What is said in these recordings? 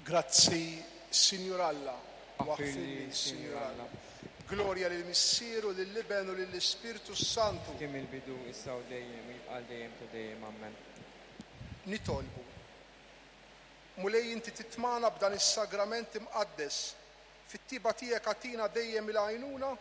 Grazzi, Sinjur Alla, u aħfirli, Sinjur Alla. Glorja lill-Missier u lill-Iben u lill-Ispirtu s-Santu. Kien mill-bidu, issa u dejjem, u jibqa' għal dejjem ta' dejjem. Ammen. Nitolbu. Mulej inti titmagħna b'dan is-sagrament imqaddes. Fit-tieba tiegħek agħtina dejjem il-għajnuna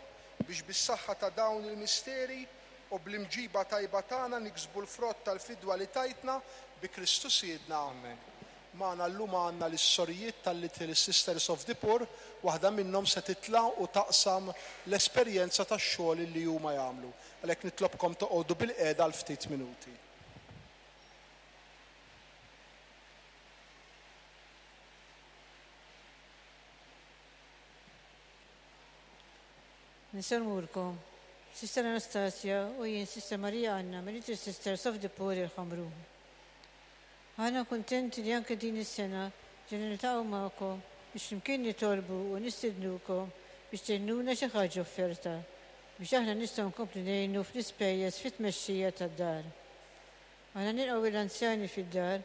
biex bis-saħħa ta' dawn il-misteri u bl-imġiba tajba tagħna niksbu l-frott tal-fidwa li tajtna bi Kristu Sidna. Amen. Magħna llum għandna lis-sorijiet tal-Little Sisters of the Poor, waħda minnhom se titla' u taqsam l-esperjenza tax-xogħol li huma jagħmlu. Għalhekk nitlobkom toqgħodu bilqiegħda għal ftit minuti. Nsellmulkom, Sister Anastasia u jien Sister Maria Anna mill-Little Sisters of the Poor il-Ħamrun. Aħna kuntenti li anke din is-sena ġejna niltaqgħu magħkom biex flimkien nitolbu u nistednukom biex tgħinuna xi ħaġa offerta biex aħna nistgħu nkomplu ngħinu fl-ispejjeż fit-tmexxija tad-dar. Aħna nilqgħu lill-anzjani fid-dar,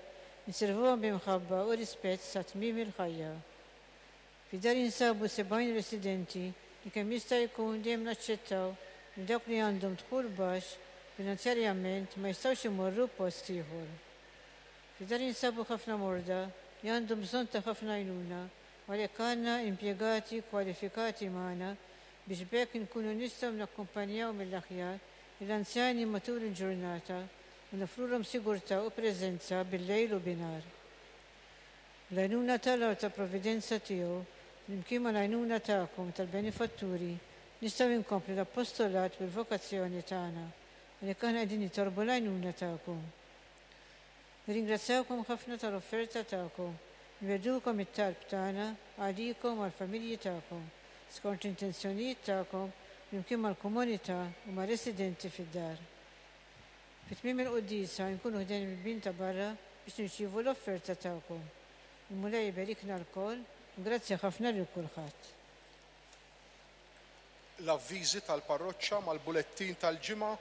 inservuhom bi mħabba u rispett sa tmiem il-ħajja. Fid-dar jinsabu 70 residenti li kemm jista' jkun dejjem naċċettaw li dawk li għandhom dħul baxx finanzjarjament ma jistgħux imorru post ieħor. Fid-dar jinsabu ħafna morda li għandhom bżonn ta' ħafna għajnuna u għalhekk għandna impjegati kwalifikati magħna biex b'hekk inkunu nistgħu nakkumpanjaw mill-aħjar lill-anzjani matul il-ġurnata u noffrulhom sigurtà u preżenza bil-lejl u binhar. Bl-għajnuna t'Alla u tal-provvidenza tiegħu, flimkien mal-għajnuna tagħkom tal-benefatturi, nistgħu inkomplu l-appostolat u l-vokazzjoni tagħna. Għalhekk aħna qegħdin nitolbu l-għajnuna tagħkom. Nirringrazzjawkom ħafna tal-offerta tagħkom. Nwegħdukom it-talb tagħna għalikom u għall-familji tagħkom, skont l-intenzjonijiet tagħkom flimkien mal-komunità u mar-residenti fid-dar. Fi tmiem il-quddiesa nkunu ħdejn il-bibien ta' barra biex nirċievu l-offerta tagħkom. Il-Mulej iberikna lkoll u grazzi ħafna lil kulħadd. L-avviżi tal-parroċċa mal-bulettin tal-ġimgħa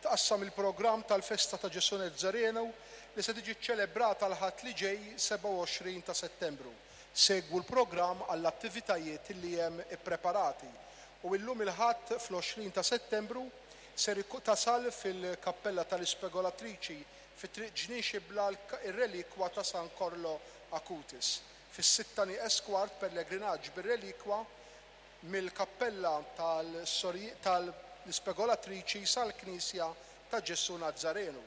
tqassam il-programm tal-festa ta' Ġesù Nazzarenu li se tiġi ċċelebrata l-Ħadd li ġej 27 ta' Settembru. Segwu l-programm għall-attivitajiet li hemm ippreparati. U illum il-Ħadd fl-20 ta' Settembru ser tasal fil-Kappella tal-Ispegolatriċi fi Triq Ġnien Xibla r-relikwa ta' San Korlo Acutis. Fis-sitta nieqes kwart pellegrinaġġ bir-relikwa mill-Kappella tal-Ispegolatriċi sal-Knisja ta' Ġesù Nazzarenu.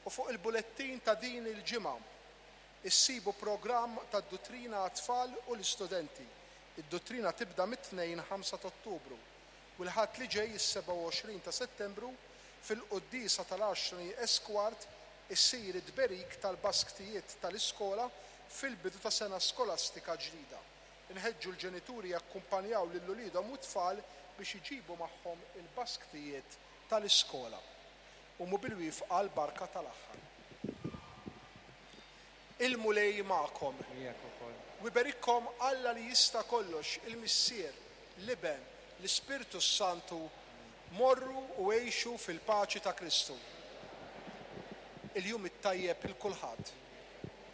U fuq il-bulettin ta' din il-ġimgħa issibu programm tad-duttrina għat-tfal u l-istudenti. Id-duttrina tibda mit-Tnejn 5 t'Ottubru u l-Ħadd li ġej is-27 ta' Settembru fil-quddiesa tal-għaxra nieqes kwart isir it-tberik tal-basktijiet tal-iskola fil-bidu ta' sena skolastika ġdida. Inħeġġu l-ġenituri jakkumpanjaw lil uliedhom u t-tfal biex iġibu magħhom il-basktijiet tal-iskola. Qumu bil-wifqa għall-barka tal-aħħar. Il-Mulej magħkom. Miegħek ukoll. U jberikkom Alla li jista' kollox, il-Missier, l-Iben, l-Ispirtu s-Santu, morru u għixu fil-paċi ta' Kristu. Il-jum it-tajjeb 'il kulħadd.